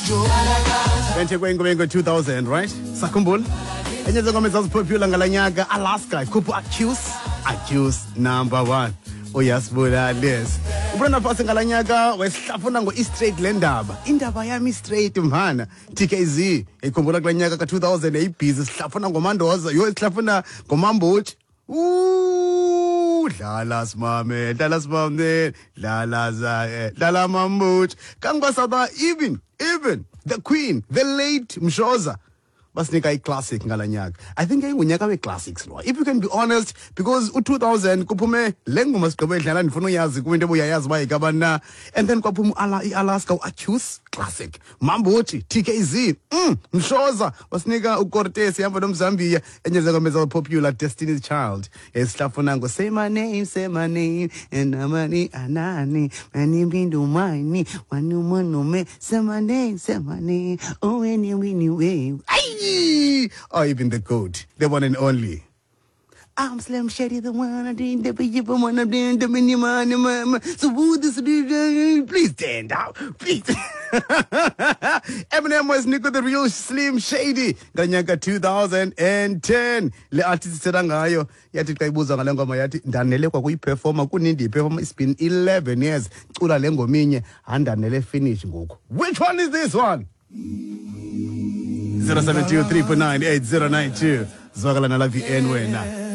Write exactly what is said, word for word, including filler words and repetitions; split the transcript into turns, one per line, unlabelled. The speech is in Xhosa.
Benthe kwengo two thousand, right? Sakhumbula? Enye zengoma ezazipopular ngala nyaka, Alaska, ikhupha Accuse, Accuse number one. Uyasibulala. Ubrenda Fassie ngala nyaka wesihlafuna ngo-straight le ndaba. Indaba yami straight mhana. T K Z ikhumbula kula nyaka ka two thousand eyibhizi sihlafuna ngoMandoza, yo sihlafuna ngoMambuthi. Ooh, dlala simame, dlala simame, dlala za, dlala Mambuthi. Kangibasaba even even the queen, the late Mshoza. Basinika i-classic ngala nyaka. I think yayingunyaka we-classics lo. If you can be honest, because u-two thousand kuphume le ngoma sigqibe edlala ndifuna uyazi kuba into ebuyayazi uba yikabani na. And then kwaphuma i-Alaska u-Accuse classic. Mambuthi, T K Z, mm, Mshoza basinika uCortez ihamba noMzambiya enye zengoma ezazipopular Destiny's Child. Esihlafuna ngo say my name, say my name and amani anani mani bindu mani wanu manu say my name, say my name. Oh any any way. Ay! Oh, even the goat, the one and only. I'm Slim Shady, the one I did the one I did the minimum. So who this please stand out, please. Eminem was Nico the real Slim Shady. Nganyaka two thousand ten. Le artist sithetha ngayo yathi xa ibuzwa ngale ngoma yathi ndanele kwakuyiperforma kunindi performa. It's been eleven years. Cula le ngoma inye andanele finish ngoku. Which one is this one? zero seven two three four nine eight zero nine two. Zwakala nala V N wena.